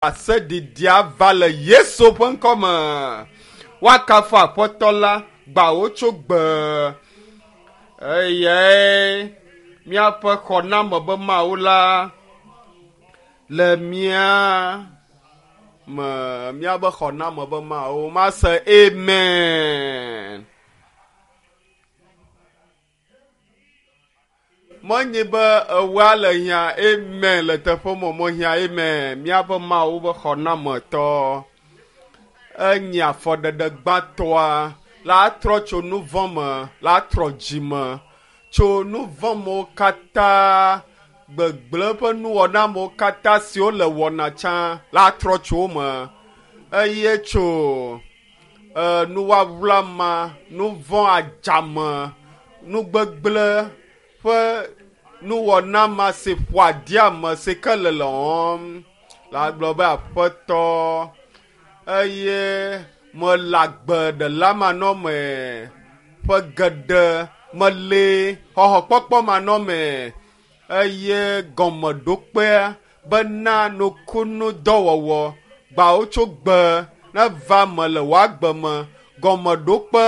Ɖaseɖiɖia va le Yesu ƒe ŋkɔ me. Woakafu Aƒetɔ la, gbawo tso gbe. Eyae míaƒe xɔname be Mawu la le mía me míaƒe xɔname be Mawu mase amen. Menye be ewoa le hiã amen le teƒe me mehiã amen míaƒe Mawu be xɔnametɔ enye afɔɖeɖe gbãtɔa la trɔ tso nu vɔ̃ me la trɔ dzi me tso nu vɔ̃ mewo katã gbegblẽ ƒe nuwɔnamewo katã siwo le wɔna tsã la trɔ tso wo me eye tso e, nuwɔawla ma nu vɔ̃ adzame nugbegblẽ ƒe nuwɔna ma si ƒo aɖi ame si ke le lɔm la gblɔ be aƒetɔ eye mele agbe ɖela manɔme ƒe geɖe meli xɔxɔkpɔkpɔ manɔme eye gɔmeɖokpea bena nukunu dɔwɔwɔ gbawo tso gbe neva me le wò agbe me gɔmeɖokpe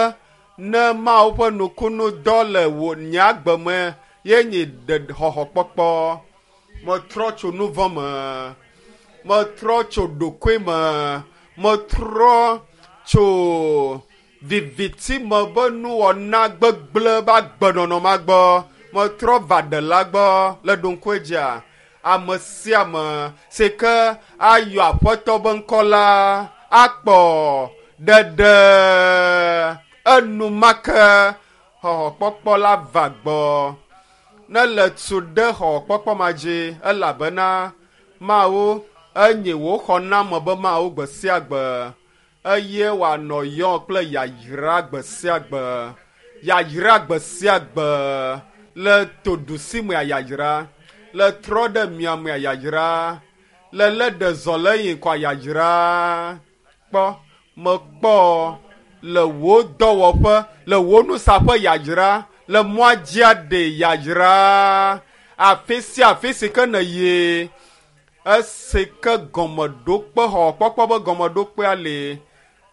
ne Mawu ƒe nukunu dɔ le wò nye agbe me ye nye ɖe xɔxɔkpɔkpɔ metrɔ tso nu vɔ̃ me metrɔ tso ɖokui me metrɔ tso viviti me be nuwɔna gbegblẽ be agbenɔnɔ ma gbɔ metrɔ va ɖela gbɔ le ɖoŋkue dzia ame sia ame si ke ayɔ aƒetɔ be ŋkɔ la akpɔ ɖeɖe enumake xɔxɔkpɔkpɔ la va gbɔ ne le tu ɖe xɔxɔkpɔkpɔ ma dzi elabena Mawu enye wò xɔname be Mawu gbe sia gbe eye wòanɔ yɔ kple yayra gbe sia gbe yayra gbe sia gbe le toɖusi mea yayra le trɔ ɖe miamea yayra le lé ɖe zɔ le yi kɔa yayra kpɔ mekpɔ le wò dɔwɔƒe le wò nusaƒe yayra le mɔa dzia ɖe yayra afi sia afi si ke nèyi esi ke gɔmeɖokpe xɔxɔkpɔkpɔ be gɔmeɖokpea li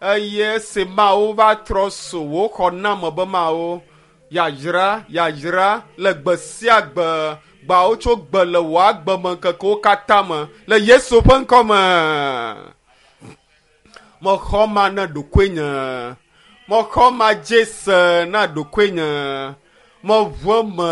eye esi Mawu va trɔ so wò xɔname be Mawu yayra yayra le gbe sia gbe gbawo tso gbe le wò agbemeŋkekewo katã me le Yesu ƒe ŋkɔ me. Mexɔ ma na ɖokuinye mexɔ ma dze se na ɖokuinye meʋu eme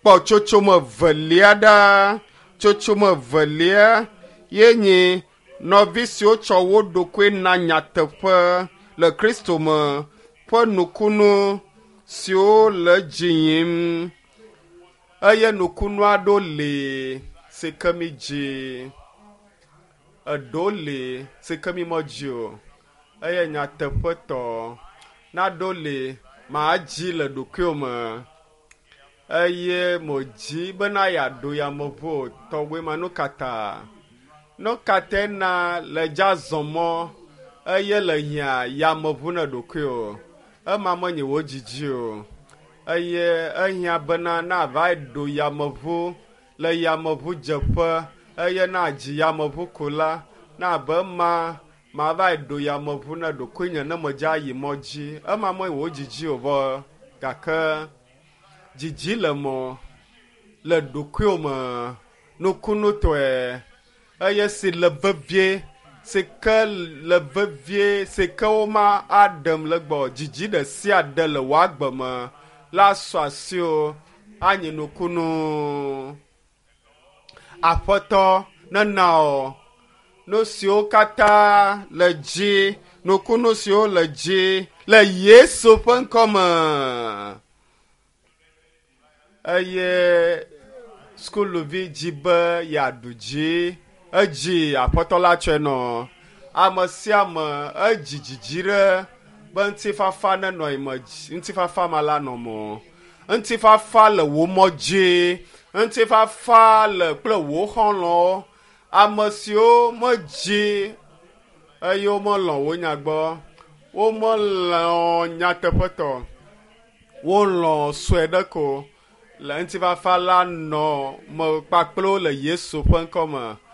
kpɔ tsotsome velia ɖa tsotsome velia ye nye nɔvi siwo tsɔ wo ɖokui na nyateƒe le Kristo me ƒe nukunu siwo le dzi yim eye nukunu aɖewo li si ke mi dzi eɖewo li si ke mi medzi o eye nyateƒetɔ naɖewo li madzi le ɖokuiwò me eye modzi bena yeaɖo yameʋu o tɔgbe ma nu ka ta nu ka tae na le dza zɔ mɔ eye le hiã yameʋu na ɖokuiwò ema menye wò dzidzi o eye ehiã bena nava ɖo yameʋu le yameʋudzeƒe eye na dzi yameʋu ko la na be ema mava ɖo yameʋu na ɖokuinye ne medze ayi mɔ dzi ema menye wò dzidzi o vɔ gake dzidzi le mɔ le ɖokuiwò me nukunutɔe eye si le vevie si ke le vevie si ke woma aɖem le gbɔ dzidzi ɖe sia ɖe le wò agbe me la sɔ asiwò anye nukunu aƒetɔ nena wò nu siwo katã le dzi nukunu siwo le dzi le Yesu ƒe ŋkɔ me eye sukuluvi dzi be yeaɖu dzi edzi aƒetɔ la tsɔe nɔ ame sia ame edzi dzidzi ɖe be ŋutifafa nenɔ yi me ŋutifafa ma la nɔ me ŋutifafa le wò mɔ dzi ŋutifafa le kple wò xɔlɔ̃wo ame siwo medzi eye womelɔ̃ wò nya gbɔ womelɔ̃ nyateƒetɔ wolɔ̃ sue ɖe ko le ŋutifafa la nɔ me kpakple wo le Yesu ƒe ŋkɔ me.